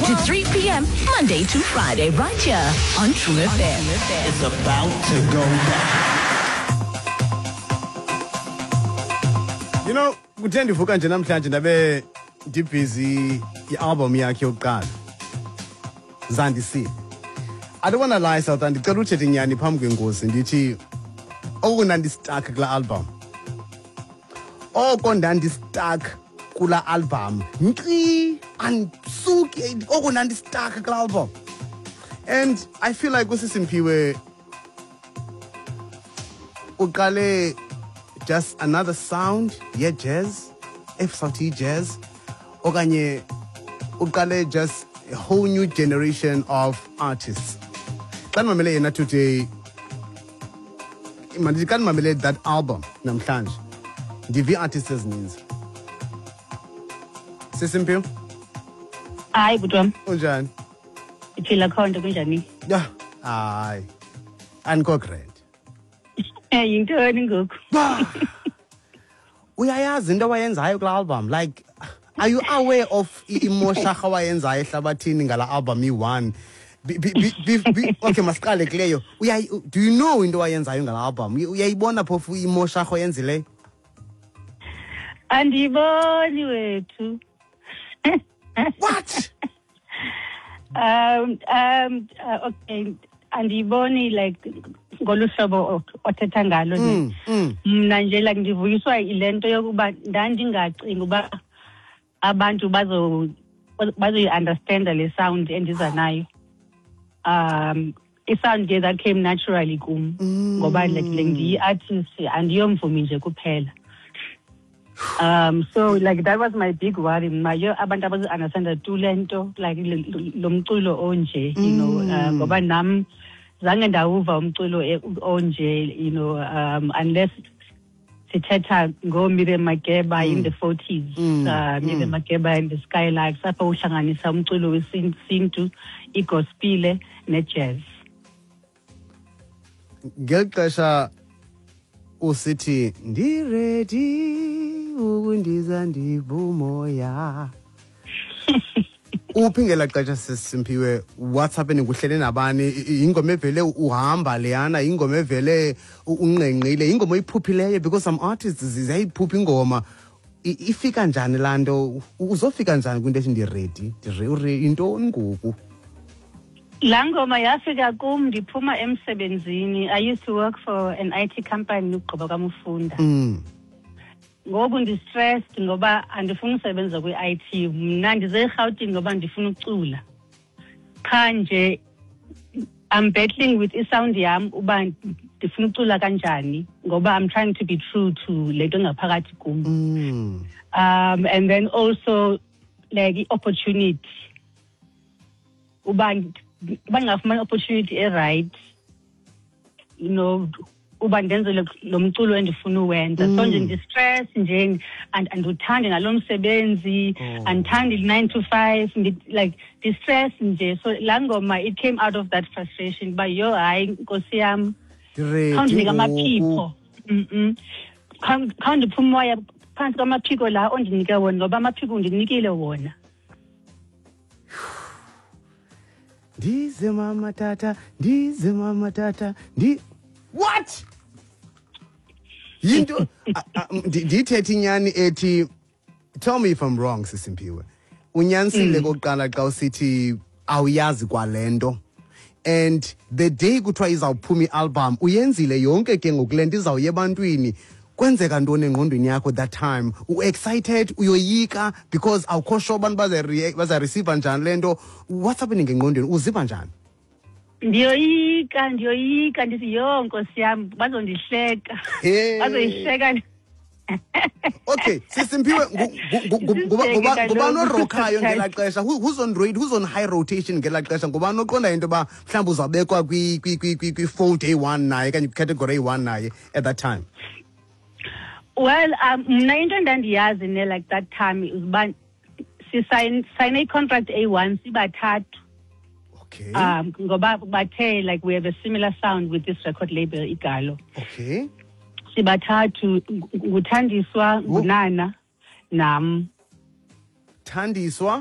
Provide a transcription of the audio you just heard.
to 3 p.m., Monday to Friday, right here on True FM. It's about to go down. Kuthe ndivuka nje namhlanje ndabe ndibhizi i-album yakhe yokuqala, Zandisile. I don't wanna lie, South, ndicela uthethe inyani phambi kwenkosi, ndithi oko ndandistuck kulaa album. Oko ndandistuck kulaa album. Nkqi, andisuki, oko ndandistuck kulaa album. And I feel like uSisimpiwe uqale just another sound ye-jazz, if sawuthi jazz, okanye uqale just a whole new generation of artists. Xa ndimamele yena today, mandithi xa ndimamele that album namhlanje, ndiva ii-artists ezininzi. Sisimpiwe? Hayi, bhuti wam. Unjani? Ndiphila khonto, kunjani? Ya, hayi, andikho grand. Yintoni ngoku? Uyayazi into awayenzayo kulaa album? Like, are you aware of imosharha awayenzayo ehlabathini ngala album iyi-one? Okay, masiqale kuleyo. Do you know into awayenzayo ngala album? Uyayibona phofu imosharha oyenzileyo? Andiyiboni wethu. What? Okay, andiyiboni like ngolu hlobo othetha ngalo nje. Mna nje like ndivuyiswa yile nto yokuba ndandingacingi uba abantu bazoyi-understanda le sound endiza nayo. I-sound ke that came naturally kum ngoba like le ndiyi-artist, andiyomvumi nje kuphela. So like that was my big worry. Mna yo abantu abazo-understanda tu le nto, like lo mculo onje, ngoba nam zange ndawuva umculo onje, unless sithetha ngoMiriam Makeba in the 40s, Miriam Makeba and the Skylarks, apho uhlanganisa umculo wesintu, igospile nejazz. Ngeli xesha usithi ndiready ukundiza ndibumoya, uphi ngelaa xesha, Sisimphiwe? What's happening? Uhlele nabani? Yingoma evele uhamba leyana? Yingoma evele unqenqile? Yingoma oyiphuphileyo? Because some artists ziyayiphupha ingoma. Ifika njani laa nto? Uzofika njani kwinto ethi ndiready? Yintoni ngoku? Laa ngoma yafika kum ndiphuma emsebenzini. I used to work for an IT company ugqiba kwam ufunda. Ngoku ndi-stressed ngoba andifuni usebenza kwi-IT. Mna ndize eRhawutini ngoba ndifuna ucula. Qha nje I'm battling with isound yam uba ndifuna ucula kanjani ngoba I'm trying to be true to le nto engaphakathi kum. And then also like i-opportunity. Uba ndingafumana i-opportunity e-right, uba ndenze lo mculo endifuna uwenza. So nje ndi-stress nje, andiwuthandi nalo msebenzi, andithandi 9 to 5, like ndi-stress nje. So laa ngoma, it came out of that frustration uba yho, hayi nkosi yam, Ndiready khawundinike ngoku. amaphiko. Khawundiphe umoya phantsi kwamaphiko la ondinike wona, ngoba amaphiko undinikile wona. Ndize mama tata, ndize mama tata, ndi what yinto ndiyithethe inyani ethi, tell me if I'm wrong, Sisimphiwe, unyanisile kokuqala xa usithi awuyazi kwale nto, and the day kuthiwa izawuphuma i-album, uyenzile yonke ke ngoku le nto izawuya ebantwini, kwenzeka ntoni engqondweni yakho that time? U-excited, uyoyika because awukho sure abantu bazareceiva njani le nto? What's happening engqondweni? Uziva njani? Ndiyoyika, ndiyoyika, ndithi yho nkosi yam, bazondihleka. Hey. Bazoyihleka. Okay, Sisimphiwe, Sisibheke ngubani kaloku. orockayo ngelaa xesha? Who's on high rotation ngelaa xesha? Ngubani oqonda into yoba mhlawumbi uzawubekwa kwi-fold A1 naye okanye kwicategory A1 naye at that time? Well, mna into endandiyazi ne like that time is uba sisayine i-contract A1 sibathathu. Ngoba bathe like we have a similar sound with this record label, Igalo. Sibathathu, nguThandiswa, nguNana, nam. Thandiswa.